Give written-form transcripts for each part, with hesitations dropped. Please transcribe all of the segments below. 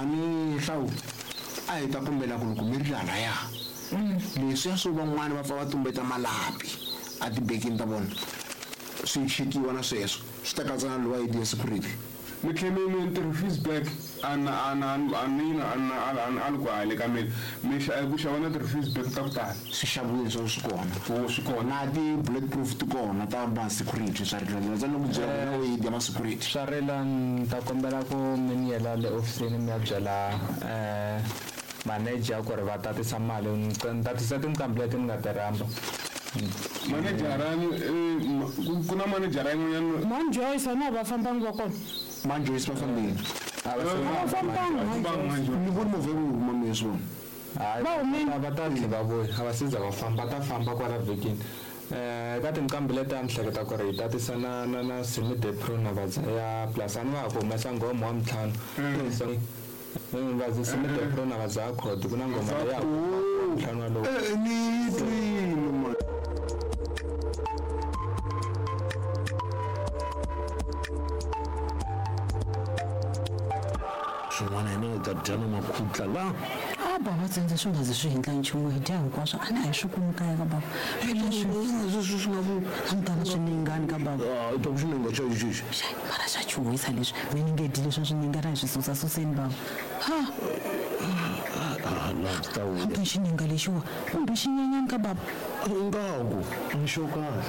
Mhani Hlawu a hi ta kombela ku loko mi ri lalaya leswiya swo van'wana va pfa va tumbeta malapi a tibekini ta vona swi chekiwa na sweswo swi ta katsa na lowa ya security. Mi tlhe mi mi ti-refuse bag a na a na a ni na a na a a ni ku hale ka mina mi xa ku xava na ti-refuse bag ta ku tala. Swi xaviwile swa swi kona. Oh swi kona. Na ti-bullet proof ti kona ta ma security swa rila ndza loko byela ku na weyidi ya ma security. Swa rila ni ta kombela ku mi ni yela le ofisini mi ya byela manager ku ri va tatisa mali ni tatisa tinqambi leti ni nga ti rhamba. Manejara ni ku na manejara yin'wanyana. Man Joyce a na va fambangi va kona. Man Joyce va fambile. A va A va fambangi. Ni voni movha yi huma mi swi vona. Hayi, Va humile. va ta tlhe va vuya a va se za va famba ta famba kwala vhikini. Ka tinqambi leti a ni hleketa ku ri hi tatisa na na na Simi De Pro na Vadzaya plus a ni va ha ku humesa nghoma wa mintlhanu. So va Simi De Pro na Vadzaya Khodi ku na nghoma leyi ya ntlhanu walowo. Ni twile man. Swin'wana hina hi ta dya na makhutla la. A bava tsendze swi nga zi swi hindla nchumu hi dya hinkwaswo a ni a hi swi kumi kaya ka bava. Leswi swi nga ku A ni tala swiningani ka bava. A ta ku xininga xa xexi. Xai, mara xa chuhisa leswi mi ni nge dyi leswa swininga ra hi swi susa suseni bava. Ha. La ta vuya. Hambi xininga lexiwa kumbe xinyenyani ka bava. Ingaku a ni xo kahle.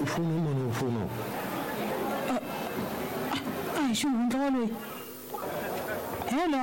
Fona mani u fona. A hi xihundla waloyi. Hello.